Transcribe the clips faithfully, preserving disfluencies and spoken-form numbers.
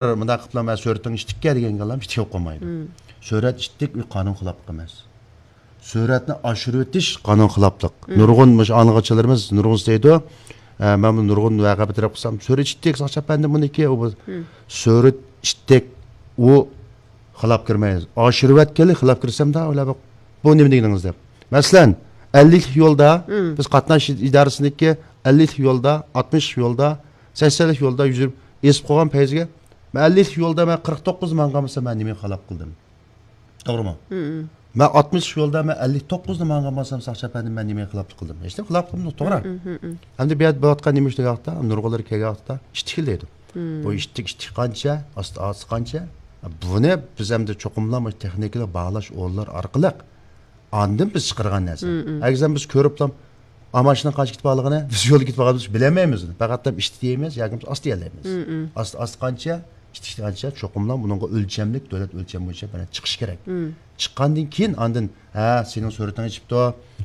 مۇنداق قىلىپ، مەن سۈرىتىڭ ئىتتىككەن دېگەن گەپلەرنى ئىتتىك قويمايدۇ. سۈرەت ئىتتىك، ئۇ قانۇن خىلاپلىق ئەمەس. سۈرەتنى ئاشۇرۇۋېتىش قانۇن خىلاپلىق. نۇرغۇن مۇشۇ ئاڭلىغۇچىلىرىمىز نۇرغۇنسى دەيدۇ، ئە، مەن بۇ نۇرغۇن ۋەقە بىر تەرەپ قىلسام، سۈرەت ئىتتىك، ساقچى ئەپەندى بۇنىڭكى، ئۇ بۇ. سۈرەت ئىتتىك، ئۇ خىلاپ كىرمەيمىز. ئاشۇرۇۋەتكەنلىك خىلاپ كىرسەم، دا ئويلاپ، بۇ نېمە دېگىنىڭىز دەپ. مەسىلەن، ئەللىكلىك يولدا، بىز قاتناش ئىدارىسىنىڭكى ئەللىكلىك يولدا، ئاتمىشلىق يولدا، سەكسەنلىك يولدا يۈزۈپ ئېزىپ قويغان پەيزىگە، مەن ئەللىكلىك يولدا مەن قىرىق توققۇزدا ماڭغان بولسام، مەن نېمە خىلاپ قىلدىم؟ توغرىمۇ؟ مەن ئاتمىشلىق يولدا مەن ئەللىك توققۇزدا ماڭغان بولسام، ساقچى ئەپەندىم، مەن نېمە خىلاپلىق قىلدىم؟ ھېچنېمە خىلاپلىق قىلمىدىم، توغرا. ئەمدى بۇ يەردە بولۇۋاتقان نېمە ئىش دېگەن ۋاقىتتا، نۇرغۇنلىرى كەلگەن ۋاقىتتا ئىتتىكلەيدۇ. بۇ ئىتتىك، ئىتتىك قانچە، ئاستا، ئاستا قانچە؟ بۇنى بىز ئەمدى چوقۇملا مۇشۇ تېخنىكىلىق باھالاش ئورۇنلىرى ئارقىلىق ئاندىن بىز چىقارغان نەرسە. ئەگەر بىز كۆرۈپلا، ئا، ماشىنا قانچە كېتىپ قالغىنى، بىز يولدا كېتىپ قالغاندا بىز بىلەلمەيمىز. پەقەت ئىتتىك دەيمىز ياكى ئاستا دېيەلەيمىز. ئاستا، ئاستا قانچە، ئىتتىك قانچە، چوقۇملا بۇنىڭغا ئۆلچەملىك، دۆلەت ئۆلچەم بويىچە بىر چىقىش كېرەك. چىققاندىن كېيىن ئاندىن، ھە، سېنىڭ سۈرىتىڭ ئېچىپتۇ،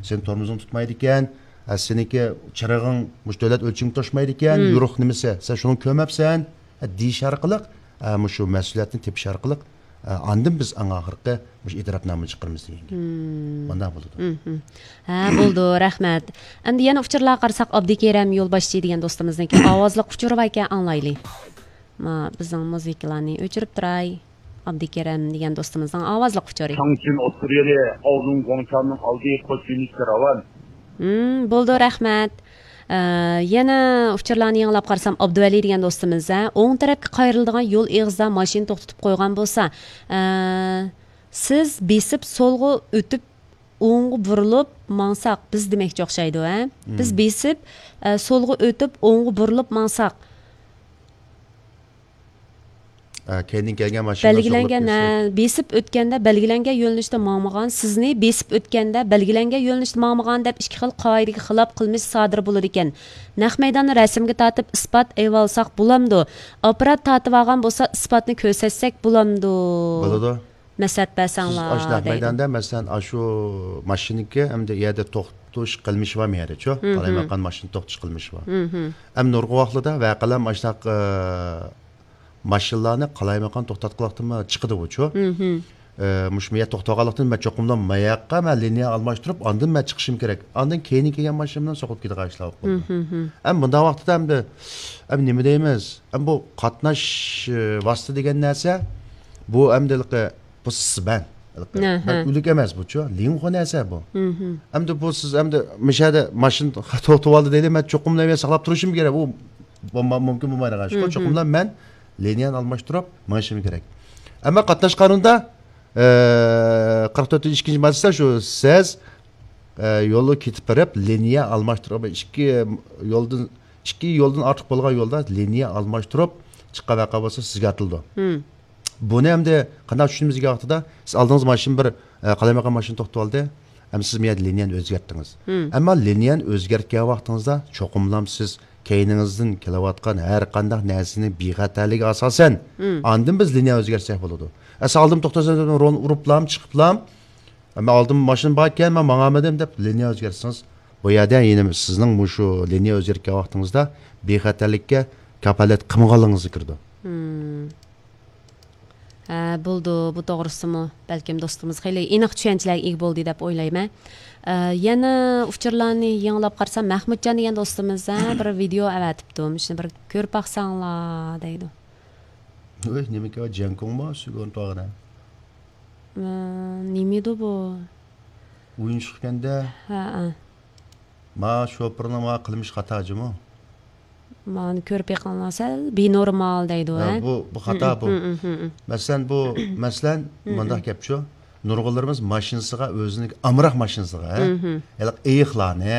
سېنىڭ تورمۇزۇڭ تۇتمايدىكەن، ھە، سېنىڭكى چىرىغىڭ مۇشۇ دۆلەت ئۆلچىمىگە توشمايدىكەن، يورۇق نېمىسى، سەن شۇنى كۆرمەپسەن، ھە، دېيىش ئارقىلىق، ھە، مۇشۇ مەسئۇلىيەتنى تېپىش ئارقىلىق، ئە، ئاندىن بىز ئەڭ ئاخىرقى مۇشۇ ئېتىراپنامىنى چىقىرىمىز دېگەن گەپ. مۇنداق بولىدۇ. ھە، بولىدۇ، رەھمەت. ئەمدى يەنە ئۇچۇرلارغا قارىساق، ئابدۇكېرەم يولباشچى دېگەن دوستىمىزنىڭكى ئاۋازلىق ئۇچۇرى باركەن، ئاڭلايلى. ما، بىزنىڭ مۇزىكىلارنى ئۆچۈرۈپ تۇراي. ئابدۇكېرەم دېگەن دوستىمىزنىڭ ئاۋازلىق ئۇچۇرى. چاڭچىن ئوتتۇرا يولى، ئاۋزۇڭ گۇاڭچاننىڭ ئالدى، قوش يۆنىلىشكە راۋان. بولىدۇ، رەھمەت. ئە، يەنە ئۇچۇرلارنى يېڭىلاپ قارىسام، ئابدۇۋەلى دېگەن دوستىمىز، ھە، ئوڭ تەرەپكە قايرىلىدىغان يول ئېغىزىدا ماشىنا توختىتىپ قويغان بولسا، ئە، سىز بېسىپ سولغا ئۆتۈپ، ئوڭغا بۇرۇلۇپ ماڭساق، بىز دېمەكچى ئوخشايدۇ، ھە؟ بىز بېسىپ، ئە، سولغا ئۆتۈپ، ئوڭغا بۇرۇلۇپ ماڭساق، ئە، كەينىدىن كەلگەن ماشىنا بەلگىلەنگەن، ھە، بېسىپ ئۆتكەندە بەلگىلەنگەن يۆنىلىشتە ماڭمىغان، سىزنى بېسىپ ئۆتكەندە بەلگىلەنگەن يۆنىلىشتە ماڭمىغان دەپ ئىككى خىل قائىدىگە خىلاپ قىلمىش سادىر بولىدىكەن. نەق مەيداننى رەسىمگە تارتىپ ئىسپات ئېلىۋالساق بولامدۇ؟ ئاپپارات تارتىۋالغان بولسا ئىسپاتنى كۆرسەتسەك بولامدۇ؟ بولىدۇ. مەسلىھەت سىز بەرسەڭلار ئاشۇنداق دەيدۇ. مەيداندا، مەسىلەن، ئاشۇ ماشىنىكى ئەمدى يەردە توختىتىش قىلمىشى بارمۇ يەردىچۇ؟ قالايمىقان ماشىنا توختىتىش قىلمىشى بار. ئەمدى نۇرغۇن ۋاقىتلاردا ۋەقەلەر ئاشۇنداق، ئە، ماشىنىلارنى قالايمىقان توختاتقانلىقتىنمۇ چىقىدىغۇچۇ. ئە، مۇشۇ يەردە توختىغانلىقتىن مەن چوقۇملا ماياققا مەن لىنىيە ئالماشتۇرۇپ، ئاندىن مەن چىقىشىم كېرەك. ئاندىن كەينىدىن كەلگەن ماشىنا بىلەن سوقۇپ كېتىدىغان ئىشلار بولۇپ قالىدۇ. ئەمدى مۇنداق ۋاقىتتا ئەمدى، ئەمدى نېمە دەيمىز؟ ئەمدى بۇ قاتناش، ئە، ۋاسىتە دېگەن نەرسە، بۇ ئەمدى ھېلىقى بۇ سىبەن. ھە، ھە. بىر ئۆلۈك ئەمەس بۇچۇ، لىڭخۇ نەرسە بۇ. ئەمدى بۇ سىز ئەمدى مىشەدە ماشىنا توختىتىۋالدى دەيلى، مەن چوقۇملا مەن ساقلاپ تۇرۇشۇم كېرەك. ئۇ بۇ ما-، مۇمكىن بولمايدىغان ئىشقۇ. چوقۇملا مەن لىنىيەنى ئالماشتۇرۇپ مېڭىشىم كېرەك. ئەمما قاتناش قانۇنىدا، ئە، قىرىق تۆتىنچى ئىككىنچى ماددىسىدا شۇ سىز، ئە، يولدا كېتىپ بېرىپ، لىنىيە ئالماشتۇرۇپ، ئىككى يولدىن، ئىككى يولدىن ئارتۇق بولغان يولدا لىنىيە ئالماشتۇرۇپ چىققان ۋەقە بولسا سىزگە ئاتىلىدۇ. بۇنى ئەمدى قانداق چۈشىنىمىز دېگەن ۋاقتىدا، سىز ئالدىڭىزغا ماشىنا بىر، ئە، قالايمىقان ماشىنا توختىتىۋالدى. ئەمدى سىز بۇ يەردە لىنىيەنى ئۆزگەرتتىڭىز. ئەمما لىنىيەنى ئۆزگەرتكەن ۋاقتىڭىزدا چوقۇملام سىز كەينىڭىزدىن كېلىۋاتقان ھەر قانداق نەرسىنىڭ بىخەتەرلىكىگە ئاساسەن، ئاندىن بىز لىنىيە ئۆزگەرتسەك بولىدۇ. ئە، سىز ئالدىمدا توختىسىڭىز، رول ئۇرۇپلام، چىقىپلام، مەن ئالدىمدا ماشىنا باركەن، مەن ماڭالمىدىم دەپ لىنىيە ئۆزگەرتسىڭىز، بۇ يەردە يەنە سىزنىڭ مۇشۇ لىنىيە ئۆزگەرتكەن ۋاقتىڭىزدا بىخەتەرلىككە كاپالەت قىلمىغانلىقىڭىزغا كىرىدۇ. ھە، بولىدۇ، بۇ توغرىسىمۇ بەلكىم دوستىمىز خېلى ئېنىق چۈشەنچىلەرگە ئىگە بولدى دەپ ئويلايمەن. ئە، يەنە ئۇچۇرلارنى يېڭىلاپ قارىسام، مەھمۇتجان دېگەن دوستىمىز، ھە، بىر ۋىدېئو ئەۋەتىپتۇ، مۇشۇنى بىر كۆرۈپ باقساڭلار دەيدۇ. ۋوي، نېمىكى جياڭكۇڭمۇ سۈگۈن تۇغىنى؟ ئە، نېمىدۇ بۇ؟ ئويۇنچۇق ئىكەندە. ھە، ھە. ما شوپۇرنىڭ ما قىلمىش خاتا جۇمۇ. مانى كۆرۈپ بېقىڭلار، سەل بىنورمال دەيدۇ، ھە، ھە؟ بۇ، بۇ خاتا بۇ. مەسىلەن، بۇ، مەسىلەن، مۇنداق گەپچۇ. نۇرغۇنلىرىمىز ماشىنىسىغا، ئۆزىنىڭ ئامراق ماشىنىسىغا، ھە؟ ھېلىقى ئېيىقلارنى،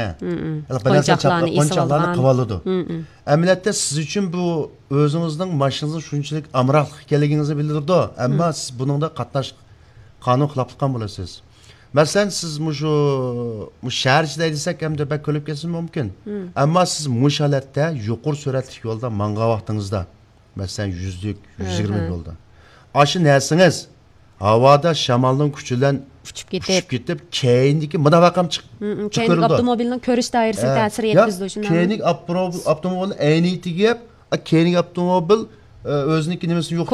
ھېلىقى بىر نەرسە قونچاقلارنى چاپلاپ، قونچاقلارنى قىلىۋالىدۇ. ئەمەلىيەتتە سىز ئۈچۈن بۇ ئۆزىڭىزنىڭ ماشىنىڭىزنىڭ شۇنچىلىك ئامراقلىق ئىكەنلىكىڭىزنى بىلدۈرىدۇ. ئەمما سىز بۇنىڭدا قاتناش-، قانۇن خىلاپلىق قىلغان بولىسىز. مەسىلەن، سىز مۇشۇ، مۇشۇ شەھەر ئىچىدە ھەيدىسەك، ئەمدى بەك كۆرۈلۈپ كەتسىمۇ مۇمكىن. ئەمما سىز مۇشۇ ھالەتتە يۇقىرى سۈرئەتلىك يولدا ماڭغان ۋاقتىڭىزدا، مەسىلەن، يۈزلۈك، يۈز يىگىرمە يولدا، ئاشۇ نەرسىڭىز ھاۋادا شامالنىڭ كۈچى بىلەن ئۇچۇپ كېتىپ، كېتىپ، كەينىدىكى مۇنداق ۋەقەم چىق-، كەينىدىكى ئاپتوموبىلنىڭ كۆرۈش دائىرىسىگە تەسىر يەتكۈزىدۇ، شۇنداقمۇ؟ كەينىدىكى ئاپتوموبىل، ئاپتوموبىلنىڭ ئەينىگە تېگىپ، ئا، كەينىدىكى ئاپتوموبىل ئۆزىنىڭكى نېمىسىنى يوق